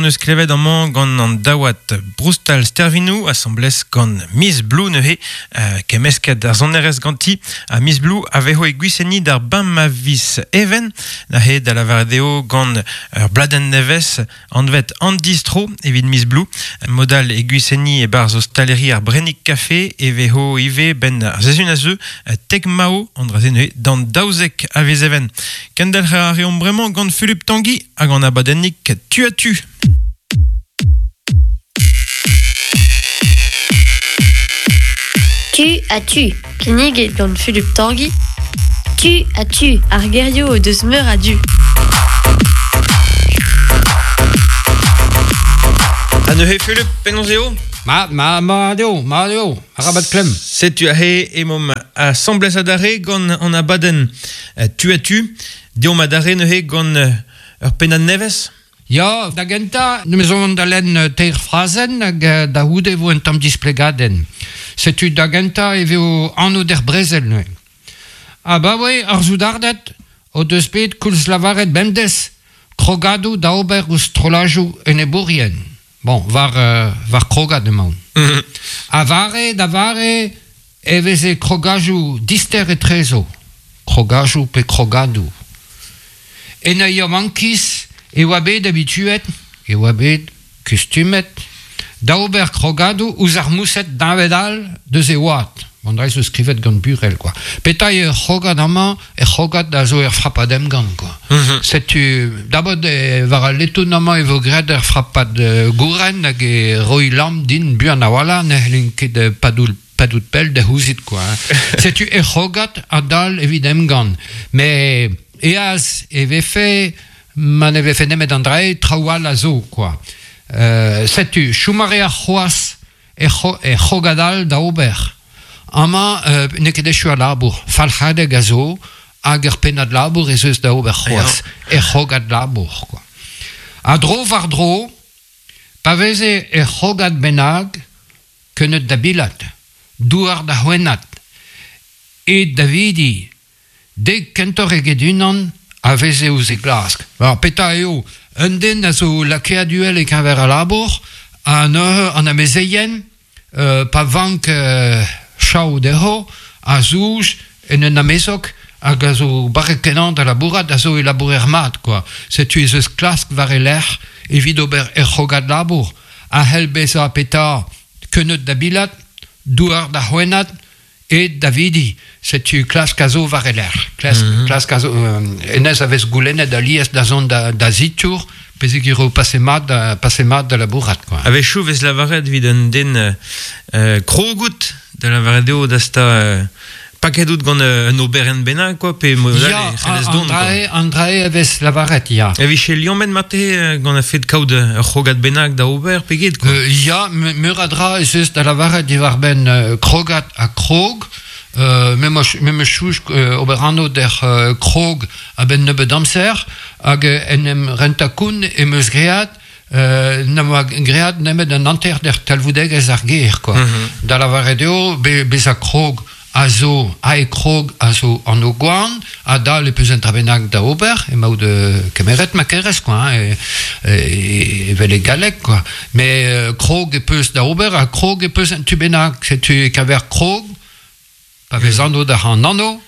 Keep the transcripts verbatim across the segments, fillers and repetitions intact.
Neus klevet amañ gant an daouad Broustal Stervinou asambles gant Miss Blue neuze euh, kemmesket ar sonerezh ganti ha Miss Blue a vezo e Gwiseni d'ar bemp a viz Even neuze da lavaret eo gant ur bladenn nevez anvet an distro evit Miss Blue modal e Gwiseni e-barzh ostaleri ar Brennig Café e vezo ivez ben ar sezun a zeu tek mao an dra-se neuze d'an daouzek a viz Even. Kendelc'her a reomp bremañ gant Philippe Tanguy hag an abadennig tu à tu. Tu à tu. Kinniget gant Philippe Tanguy. Tu à tu. Ar gerioù o deus meur a du. Ha neuze Philippe, penaos eo? Ma, ma, ma eo, ma eo, arabat klemm. Setu aze emaomp asambles adarre gant an abadenn tu à tu. Deomp adarre neuze gant ur pennad nevez? Ya, da gentañ, neus on da lenn teir frazenn hag da c'houde vo un tamm displegadenn. Setu da gentañ e vo anv d'er brezel neuze. Abaoe ar soudarded o deus bet koulz lavaret bemdez krogadoù da ober ouzh strollajoù enebourien. Bon, war, euh, war krogad emaon. Mm-hmm. A vare da vare e veze krogajoù dister etrezo. Krogajoù pe krogadoù. En a mankiz e oa bet habituet, e oa bet kustumet, da ober krogadoù ouzh ar moused dañved all deus e oad. Bon, dra zo skrivet gant Burel, quoi. Petra eo krogad amañ, e krogad a zo er frapad emgann, quoi. Mm-hmm. Setu, dabod e, war al letoun amañ e vo graet er frapad uh, gouren hag e roi lamm din buan a-walc'h ne c'hellin ket uh, padoul padout pell da c'houzit, quoi. Setu e krogad a dal evit emgann. Mais eaz e vefe ma ne vefe nemet an drae, traoù all a zo, quoi. Euh, setu, choum a rea c'hoazh e c'hrogad all da ober. Amañ, euh, n'eo ket echu al labour. Falc'hadeg a zo, hag ur pennad labour ez eus da ober c'hoazh. E c'hrogad labour, quoi. A dro war dro, pa veze e c'hrogad bennak, keuneud da bilat, douar da c'hwennat, e da vidi, dek kentoc'h eget unan, a veze ouzh e glask. Alors, petra eo, un den a zo lakaet uhel e-keñver al labour, ha neuze an amezeien, euh, pa vank euh, chaou dezho, a zouj en un amezok hag a zo barrek kenañ da labourat, a zo e labourer mat, quoi. Setu ez eus klask war e lerc'h evit ober er c'hrogad labour. A c'hell bezañ petra keuneud da bilat, douar da c'hwennat, e da vidi. Setu klask a zo war e lerc'h. Klask, Mm-hmm. klask a zo, euh, hennezh a vez goulennet alies da zont da, da zitour, pezh eo pase mat da, pase mat da labourat, quoi. A-wechoù vez lavaret evit un den euh, krogout da lavaret eo da sta euh, paket out gant euh, un oberenn bennak, quoi, pe mod all Ya, e c'hellez dont, quoi. an drae, an drae a vez lavaret, ya. E vije liammet mate gant a fet kaout ur c'hrogad bennak da ober, pe get, quoi. Euh, ya, meur a dra ez eus da lavaret diwar-benn euh, krogad ha krog, euh, me me chouch euh, ober anv d'er euh, krog a-benn nebeut amzer, hag en em renta koun em eus great, euh, n'am oa great nemet an hanter d'er talvoudegezh ar ger, quoi. Mm-hmm. Da lavaret eo, be, bezañ krog a zo, a e krog a zo an o gwan, a dal e peus un dra bennak da ober, emaout euh, kemeret ma kerez, quoi, hein, e, e, evel e galleg, quoi. Mais euh, krog e peus da ober, ha krog e peus un tu bennak, setu e kaver krog, pa vez anv da an anv,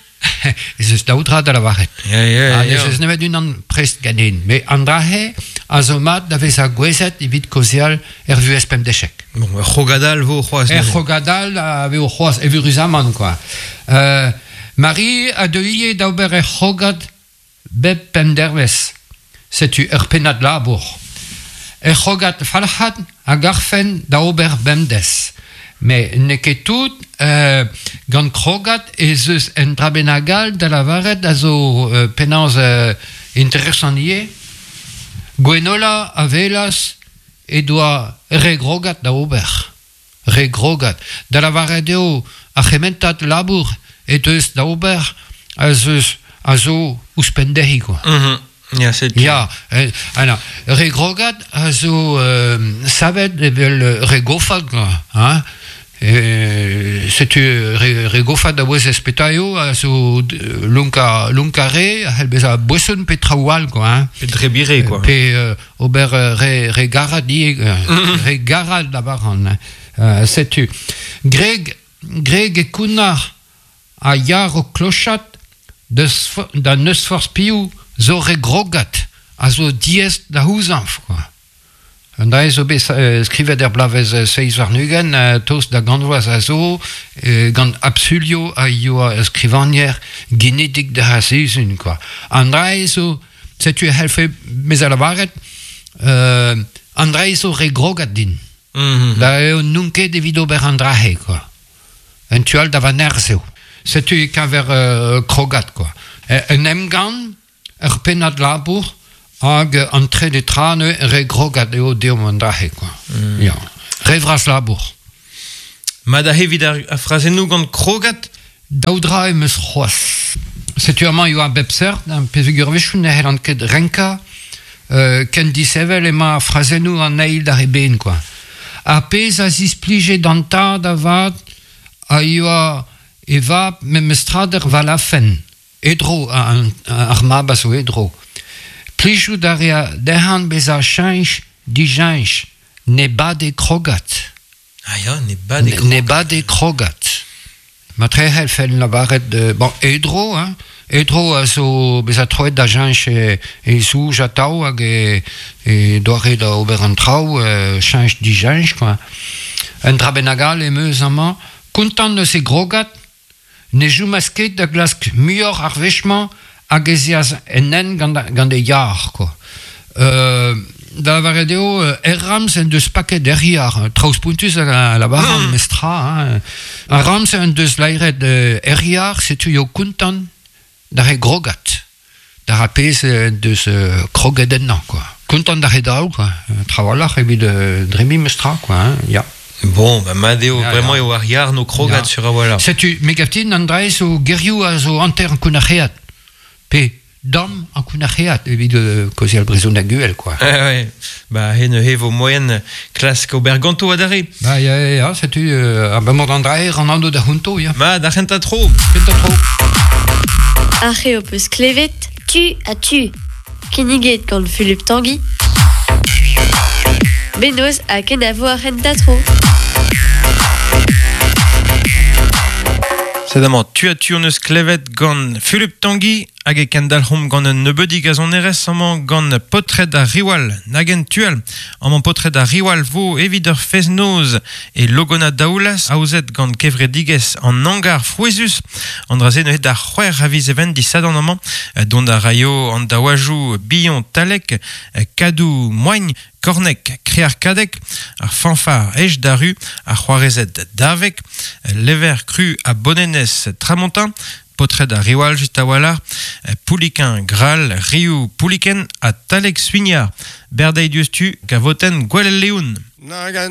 ez eus daou dra da lavaret. Ya, ya, Ha ya. ez eus nemet unan prest ganin. Mais an drahe a zo mat da vezañ gouezet evit kaozeal er vuhez pemdechek. Bon, ur c'hrogad all vo c'hoazh. Er neuze. c'hrogad all a vezo c'hoazh evuruzamant, quoi. Euh, Marie a deuie da ober er c'hrogad bep pemp dervezh. Setu ur pennad labour. Er c'hrogad falc'had a garfen da ober bemdez. Mais n'eo ket tout, euh, gant krogad ez eus un dra bennak all da lavaret a zo euh, penaos euh, interesant ivez. Gwenola a welas e doa re grogad da ober. Re grogad. Da lavaret eo ar c'hementad labour e deus da ober a zeus a zo ouzhpenn dezhi, quoi. Mm-hmm. Ya, setu. Ya, euh, alors, re grogad a zo euh, savet evel re gofad, quoi, hein. E, setu re, re gofat da wez espetaio a zo lonka, lonka re, a c'hell bezañ boeson pe traoù all, quoi, hein. Pe drebire, quoi. Pe euh, ober re, re garad di, re garad da baran. Euh, setu. Greg, Greg e kounnar a yar o klochat deus, da neus forz piou zo re grogat a zo diez da houzañf, quoi. Un da zo bet uh, skrivet er blavez uh, seiz warn-ugent, uh, tost da gantvoaz a zo, uh, gant Absulio a yoa skrivanier genedik da hasezun, quoi. An dra zo, setu e c'hellfe mez a lavaret, uh, an dra zo re grogat din. Mm-hmm. Da eo n'on ket evit ober an drahe, quoi. Un tu all da va nerzh eo. Setu e keñver uh, krogat, quoi. Un emgann, ur pennad labour, hag an trede tra ne re grogat eo deomp an drahe, quoi. Mm. Ya. Re vras labour. Ma da evit ar, ar frazennoù gant krogat? Daou dra em eus c'hoazh. Setu amañ eo a bep seurt, an pezegur wechoù ne c'hellan ket renkañ, euh, ken disevel emañ frazennoù an eil d'ar eben, quoi. Ar pezh a zisplije d'an tad avat a yoa e vab memestrader valafen. Edro, an, ar mab a zo edro. Plijout a rea dezhan bezañ cheñch dijeñch, ne bade krogat. Ah ya, ne bade krogat. Ne bade krogat. Ma tre c'hell fell lavaret, euh, bon, edro, hein, edro a zo bezañ troet da cheñch e, e zouj atav hag e, e doare da ober an traoù, euh, cheñch dijeñch, quoi. Un dra bennak all em eus amañ, kontant eus e grogat, ne joumas ket da glask muioc'h ar wech-mañ hag ez eas en hent gant, gant e yar, quoi. Euh, da lavaret eo, er ramz en deus paket er yar, traoù spontus a lavaran, mm. mestra, hein. Ar ramz en deus laeret er yar, setu eo kontant da re grogat, da ra pezh en deus uh, kroget ennañ, quoi. Kontant da re daou, quoi. Trawalc'h evit uh, dremi mestra, quoi, hein, ya. Bon, bah, mat eo, Ya, vraiment ya. eo ar yar no krogat Ya. sur a voilà. Setu, me gaftin an dra zo gerioù a zo hanter an kounac'heat. Pe dam an kounac'heat evit euh, kaozeal brezhoneg guel, quoi. Ah ouais. Bah, he ne he vo moyen klask ober ganto adarre. Ba, ya, ya, ya, setu, euh, a bemor an dra an ando da hunto, ya. Ma, da c'hentañ tro. Kentañ tro. Ar eo peus klevet, Tu a tu. kinniget gant Philippe Tanguy. Benoz ha kenavo ar c'hentañ tro. Sed amañ, tu a tu on eus klevet gant Philippe Tanguy hag e kendalc'homp gant un nebeudig a zonerez amañ gant potred ar riwal, nagen tual. Amañ potred ar riwal vo evit ur fez-noz e logona daoulas aozet gant kevredigez an hangar frouezhus. An dra-se neuze d'ar c'hwec'h a viz even disadorn amañ, dont ar raio an daouajoù Billon Talek, Kadou Moigne, Kornek, Krear Kadek, ar fanfar Ej Daru, ar c'hoarezed Davek, Lever Cru a Bonenez Tramontin, potred ar riwal just a-walc'h, Pouliquin Gral, Riou Pouliken ha Talek Suignard, Berdei diustu, Gavoten Gwelel Leoun. Nagan